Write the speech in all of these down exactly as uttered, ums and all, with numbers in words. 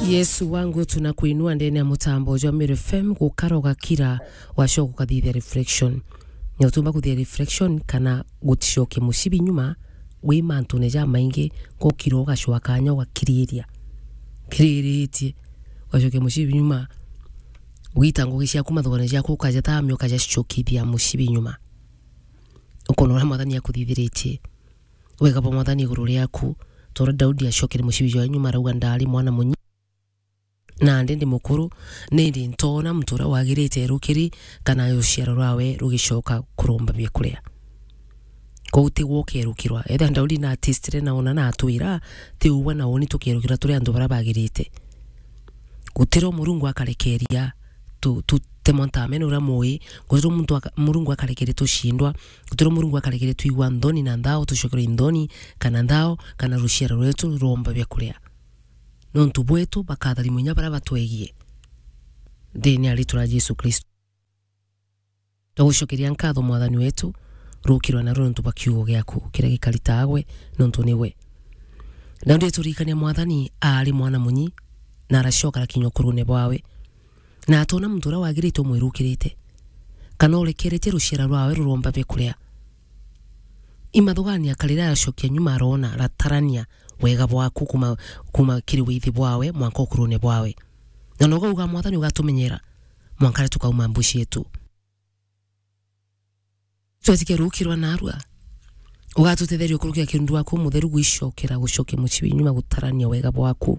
Yesu wangu, tunakuinua ndene ya mutambo jwa Meru F M, gukara ugakira, wacoka ukathithia reflection. Na utumba kuthia reflection kana guticoke mucibi nyuma, wi mantune jamaingi, gukira ugacwa kanya ugakiriria. Kiriritie, ugacoke mucibi nyuma, ugita ngugi ciaku mathugane ciaku, ukaja tamia, ukaja cicokithia mucibi nyuma. Ukona uria Mwathani akuthithiritie. Wega bwa Mwathani iguru riaku, ta uria Daudi acokere mucibi jwa nyuma, arauga, "Ndaari mwana munyi, na ndi ndi mukuru, nindi ntoona muntu uria wagirite erukiri, kana ruciaro rwawe rugicoka kuromba biakuria." Kou tigwe ukerukirwa. Ethira Daudi na atistire na ona na atwira, ti ugwe na uni tukerukirwa turi antu baria bagirite. Gutiro Murungu akarekeria tu, tu, temwa ntamene uria mui, gutiro muntu aka-, Murungu akarekeria tucindwa, gutiro Murungu akarekeria twigua nthoni na nthao, tucokerwe nthoni, kana nthao, kana ruciaro rwetu rwomba biakuria. Nontu bwetu bakatharimwa inya baria batwegie. Ndene ya ritwa ria Jesu Kristo. Twagucokeria nkatho, Mwathani wetu, rukirwa narua nontu bwa kiugo giaku, kiria gikari taagwe, nontu niwe. Daudi eturirikania, Mwathani aari mwana munyi, na aracoka arakinya ukurune bwawe. Na atoona muntu uria wagirite umwirukirite, kana urekeretie ruciara rwawe ruromba biakuria. Imathugania karira aracokia nyuma, aroona, aratarania wega bwaku kuma, kuma kiri withi bwawe mwanka ukurune bwawe. Na noga uga, Mwathani, ugatumenyera mwanka riria tukauma mbu cietu. Twetike rukirwa narua. Ugatutetheria ukurukia kirundu waku mutheru gwicokera, gucokia mucibi nyuma, gutarania wega bwaku.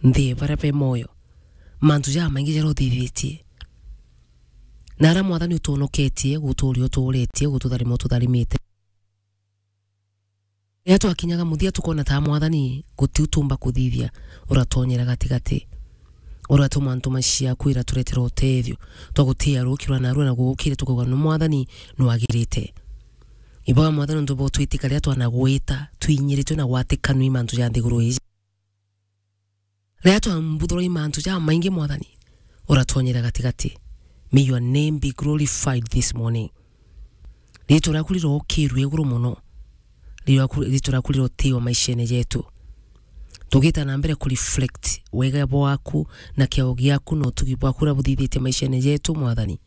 Nthi baria be moyo. Mantu jamaingi jaria uthithitie. Na aria, Mwathani, utunoketie, guturia uturetie, gututharima ututharimite. Riria twakinyaga muthia, tukona ta, Mwathani, guti utumba kuthithia, uratonyera gatigati. Uratuma ntuma ciaku iraturetera utethio. Twagutia rukirwa narua na gugukire, tukauga, "Nu Mwathani, nwagirite." Ibaga, Mwathani, nontu bwa utwitika riria twanagwita, twinyiritwe na gwatikanu i mantu ja nthiguru iji. Riria twambuthurwa i mantu jamaingi, Mwathani, uratonyera gatigati. May your name be glorified this morning. Ritwa riaku rirokirue iguru mono. Ritwa riaku, ritwa riaku rirotiwa maishene jetu. Tugita na mbere ku reflect wega bwaku na kiao giaku na utugi bwaku uria buthithitie maishene jetu, Mwathani.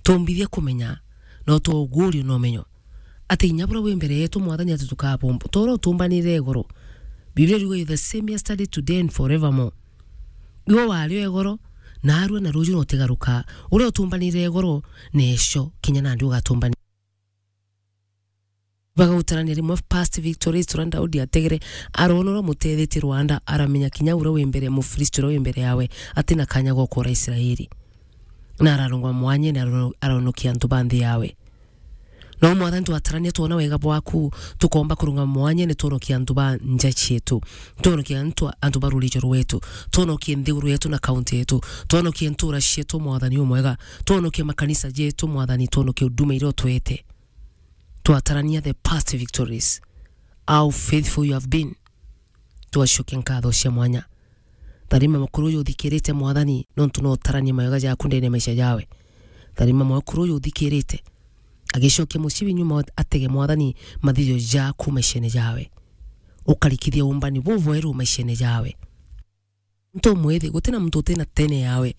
Tumbithia kumenya, na utuguurie na umenyo, ati inya buria wi mbere yetu, Mwathani, ati tukabumba. Ta uria utumbanire igoro. Biblia iriuga, "You're the same yesterday, today and forevermore." Iwe wari o igoro, narua na ruju na utigaruka. Uria utumbanire igoro, na eco, kinya nandi ugatumbani. Bagautarania rimwe past victories, turia Daudi ategere, arona uria mutethetie rwanda, aramenya kinya uria wi mbere, Mufilisti uria wi mbere yawe, atina kanya ga ukora Israeli. Na ararungama mwanyene, arono-, aronokia antu ba nthi yawe. No Mwathani, twatarania, twona wega bwaku, tukomba kurungama mwanyene, twonokie antu ba nja cietu, twonokie antu, antu ba rurijo rwetu, twonokie nthiguru yetu na kaunti yetu, twonokie ntura cietu, Mwathani umwega, twonokie makanisa jetu, Mwathani, twonokie huduma iria utwete. Twatarania the past victories, how faithful you have been. Twacokia nkatho cia mwanya. Tharima mukuru uyu uthikirite, Mwathani, nontu no utarania mawega jaku ndene ya maisha jawe. Tharima mukuru uyu uthikirite, agicokia mucibi nyuma, atege, Mwathani, mathithio jaku maishene jawe. Ukarikithia umbani bubweru maishene jawe. Ntu mwithi, gutina muntu utina tene yawe.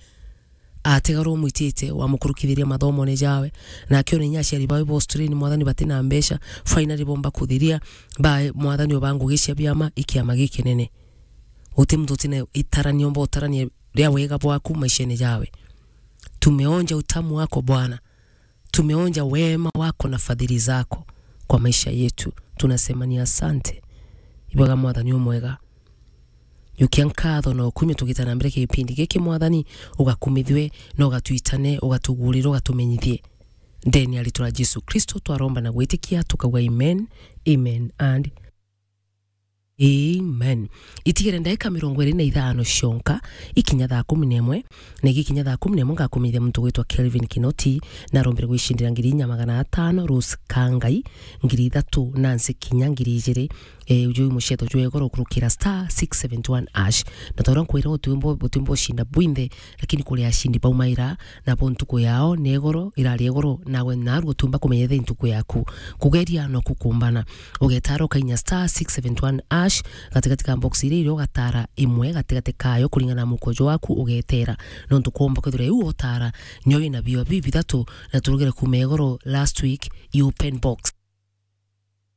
Atigara umwitite, wamukurukithiria mathomone jawe. Na akiona inya aciari bawe ba Australia, Mwathani, batina mbeca, finally bomba kuthiria, ba, Mwathani, oba ngugi cia biama, i kiama gikinene. Guti muntu utina itarania, omba utarania ria wega bwaku maishene jawe. Tumeonja utamu wako, Bwana. Tumeonja wema wako na fadhili zako kwa maisha yetu. Tunasema ni asante. Ibwega Mwathani umwega. Yukia nkatho na ukumio tugita na mbere kipindi giki, Mwathani, ugakumithwe na ugatwitane, ugatugurire, ugatumenyithie. Ndene ya ritwa ria Jesu Kristo twaromba na gwitikia, tukauga amen, amen and amen. Itigere ndagika mirongo iri na ithano cionka, ikinya thaa kumi na imwe, na igikinya thaa kumi na imwe ngakumenyithia muntu gwitwa Kelvin Kinoti, na arombire gwicindira ngiri inya magana atano, Rose Kangai, ngiri ithatu, Nancy Kinya, ngiri ijiri, eh, uju mucetho jwa igoro kurukira star six seventy one hash. Na ta uria nkwira, utimbo, utimbo ucinda bwinthe, lakini kuri acindi baumaira, nabo ntuku yao ni igoro, irari igoro, nawe naru utumba kumenya ithi ntuku yaku. Kugeria no kukumbana. Ugetara ukainya star six seventy one hash, gatigati ka box iria irio gatara imwe gatigati kayo kuringana na mukojo waku ugetera. Nontu kwomba kwithira iu otara nyo ina bio biu bithatu, na turugire kuma igoro last week, i open box.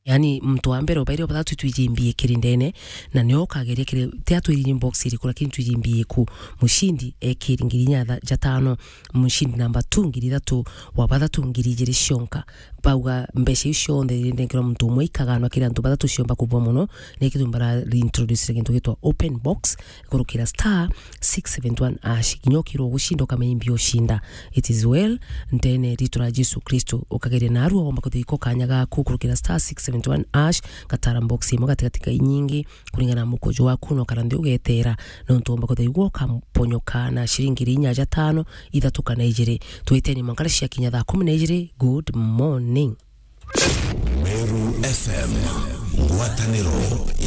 Yani, muntu wa mbere ubaire bathatu twiji mbie kiri ndene, na nio ukageria kiri, ti atwiri box iriku, lakini twiji mbie ku. Mushindi ekiri ngiri inya tha-, ja tano, mushindi namba two ngiri ithatu, wa bathatu ngiri ijiri cionka. Bauga mbeca iu cionthe irinengerwa muntu umwe ikaganwa kiri antu bathatu ciomba kubua mono, na ikithumba ra reintroduce gintu gitwa open box, kurukira star six seven one hash. Kinya ukirwo gucinda ukamenya imbi ucinda. It is well, ndene ritu ra Jesu Kristo. Ukageria narua womba kuthika kanya gaku kurukira star six seven one hash, gatara box imwe gatigati ka inyingi, kuringana na mukojo waku no kara nthi ugetera, nontu womba kuthigwa ukamponyoka na ciringi inya ja tano, ithatu kana ijiri. Twiteni mwankara cia kinya thaa kumi na ijiri. Good morning. Meru F M, ngwataniro